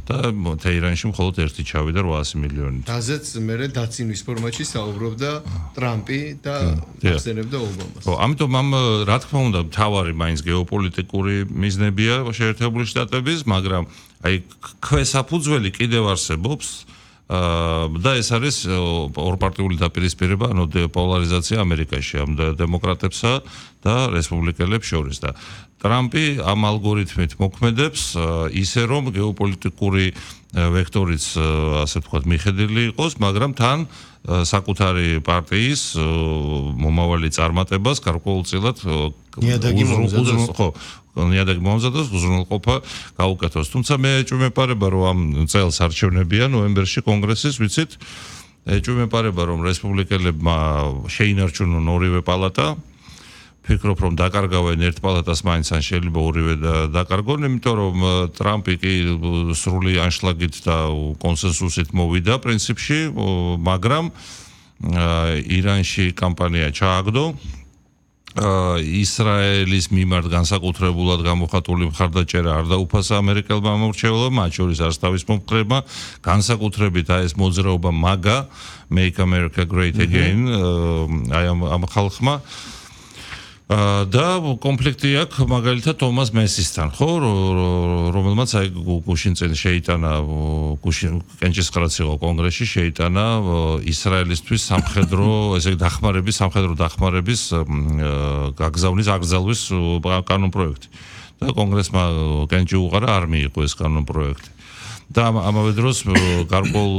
და თეირანში მხოლოდ ერთი ჩავიდა 800 მილიონით. რაზეც მე დაცინვის ფორმატში საუბრობდა ტრამპი და ახსენებდა ობამას. ამიტომ რა თქმა უნდა მთავარი მაინც გეოპოლიტიკური მიზნებია შეერთებული შტატების, მაგრამ აი ქვესაფუძველი კიდევ არსებობს და ეს არის ორპარტიული დაპირისპირება, ანუ პოლარიზაცია ამერიკაში ამ დემოკრატებსა და რესპუბლიკელებს შორის და ტრამპი ამ ალგორითმით მოქმედებს ისე რომ გეოპოლიტიკური ვექტორიც ასე ვთქვათ მიხედვილი იყოს, მაგრამ თან საკუთარი პარტიის მომავალი წარმატებას გარკვეულწილად ნიადაგი მომზადოს უზრუნველყოფა გაუკეთოს. თუმცა მე ეჭვმეპარება რომ ამ წელს არჩევნებია ნოემბერში კონგრესის, ვიცით, ეჭვმეპარება რომ რესპუბლიკელებმა შეინარჩუნონ ორივე პალატა. ფიქრობ რომ დაკარგავენ ერთ პალატას მაინც ან შეიძლება ორივე დაკარგონ, იმიტომ რომ ტრამპი კი სრული ანშლაგით და კონსენსუსით მოვიდა პრინციპში, მაგრამ ირანში კამპანია ჩააგდო. ისრაელის მიმართ განსაკუთრებულად გამოხატული მხარდაჭერა არ დაუფასა ამერიკელმა მომრჩეველებმა, მათ შორის არც თავის მომხრეებმა, განსაკუთრებით ეს მოძრაობა MAGA, Make America Great Again, აი ამ ხალხმა და კონფლიქტი აქვს მაგალითად თომას მესისთან, ხო, რომელმაც აი გუშინ წინ შეიტანა კენჭისყრაც იყო კონგრესში, შეიტანა ისრაელისთვის სამხედრო დახმარების გაგზავნის აკრძალვის კანონპროექტი. და კონგრესმა კენჭი უყარა, არ მიიღო ეს კანონპროექტი. და ამავე დროს გარკვეულ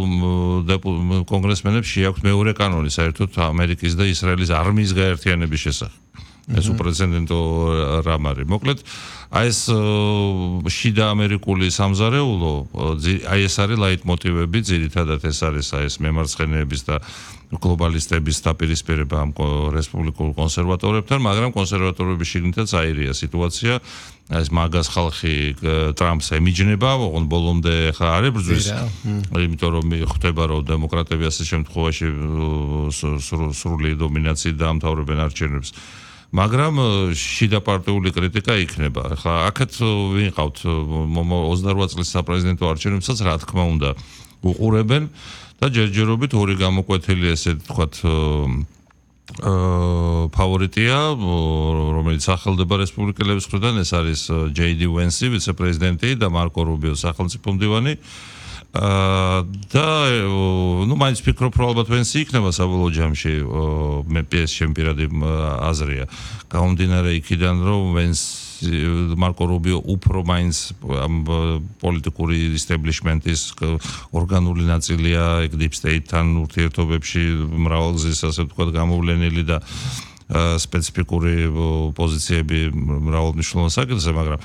კონგრესმენებს შეაქვთ მეორე კანონი საერთოდ ამერიკის და ისრაელის არმიის გაერთიანების შესახებ. ეს უპრეცედენტო რამ არის. მოკლედ, აი ეს შიდა ამერიკული სამზარეულო, აი ეს არის ლაიტმოტივები, ძირითადად ეს არის აი ეს მემარცხენეების და გლობალისტების დაპირისპირება ამ რესპუბლიკურ კონსერვატორებთან, მაგრამ კონსერვატორების შიგნითაც აირია სიტუაცია. ეს მაგას ხალხი ტრამპს ემიჯნება, ოღონდ ბოლომდე ხა არ ებრძვის, იმიტომ რომ ხვდება რომ დემოკრატები ასე შემთხვევაში სრული დომინაციით დაამთავრებენ არჩევნებს. მაგრამ შიდა პარტიული კრიტიკა იქნება. ხა აქეთ ვიყავთ 28 წლის საპრეზიდენტო არჩევნებსაც, რა თქმა უნდა, უყურებენ და ჯერჯერობით ორი გამოკვეთილი ესე ვთქვათ ფავორიტია, რომელიც სახელდება რესპუბლიკელების მხრიდან, ეს არის JD Vance, ვიცე-პრეზიდენტი და მარკო რუბიო სახელმწიფო მდივანი. და მაინც ფიქრობ რომ ალბათ ვენსი იქნება საბოლოო ჯამში, მე ჩემი პირადი აზრია. გამომდინარე იქიდან რომ მარკო რუბიო უფრო მაინც ამ პოლიტიკური ისტებლიშმენტის ორგანული ნაწილია deep state-თან ურთიერთობებში მრავალგზის ასე ვთქვათ გამოვლენილი და სპეციფიკური პოზიციები მრავალმნიშვნელოვან საკითხზე, მაგრამ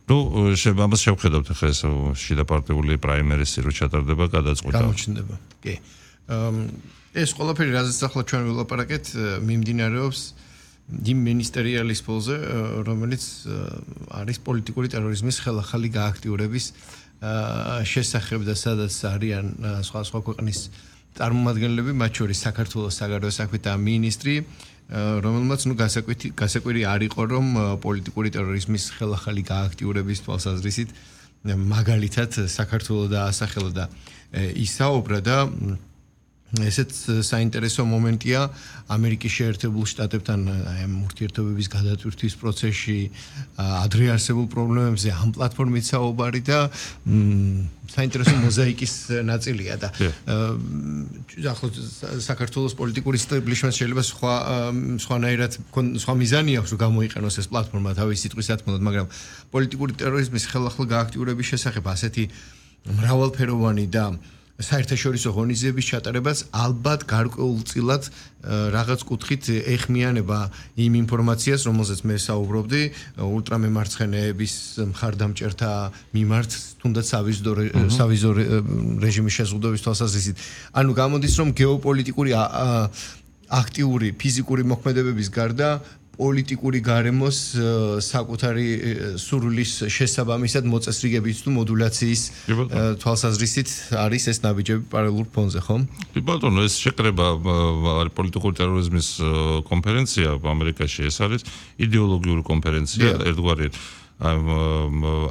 ამას შევხედავთ ახლა ეს შიდა პარტიული პრაიმერისი რო ჩატარდება გადაწყვეტა. გამოჩნდება. კი. ეს ყველაფერი რაზეც ახლა ჩვენ ვილაპარაკეთ, მიმდინარეობს იმ მინისტერიალის პოლზე, რომელიც არის პოლიტიკური ტერორიზმის ხელახალი გააქტიურების შესახებ და სადაც არიან სხვა ქვეყნის წარმომადგენლები, მათ შორის საქართველოს საგარეო საქმეთა მინისტრი, რომელმაც გასაკვირი არ იყო, რომ პოლიტიკური ტერორიზმის ხელახალი გააქტიურების თვალსაზრისით მაგალითად საქართველოს დაასახელა და ისაუბრა და ესეც საინტერესო მომენტია ამერიკის შეერთებულ შტატებთან ამ ურთიერთობების გადატვირთვის პროცესში, ადრე არსებულ პრობლემებზე ამ პლატფორმით საუბარი და საინტერესო მოზაიკის ნაწილია და ახლა საქართველოს პოლიტიკური ისტებლიშმენტს შეიძლება სხვანაირად სხვა მიზანი აქვს რომ გამოიყენოს ეს პლატფორმა თავის სიტყვის სათქმელად, მაგრამ პოლიტიკური ტერორიზმის ხელახალ გააქტიურების შესახებ ასეთი მრავალფეროვანი და საერთაშორისო ღონისძიების ჩატარებას ალბათ გარკვეულწილად რაღაც კუთხით ეხმიანება იმ ინფორმაციას, რომელზეც მე საუბრობდი, ულტრამემარცხენეების მხარდამჭერთა მიმართ, თუნდაც სავიზო რეჟიმის შეზღუდვების თვალსაზრისით. ანუ გამოდის, რომ გეოპოლიტიკური აქტიური ფიზიკური მოქმედებების გარდა პოლიტიკური გარემოს საკუთარი სურვილის შესაბამისად მოწესრიგების თუ მოდულაციის თვალსაზრისით არის ეს ნაბიჯები პარალელურ ფონზე, ხო? კი ბატონო, ეს შეკრება პოლიტიკური ტერორიზმის კონფერენცია ამერიკაში, ეს არის იდეოლოგიური კონფერენცია, ერთგვარი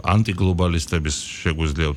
ანტიგლობალისტების შეგვიძლია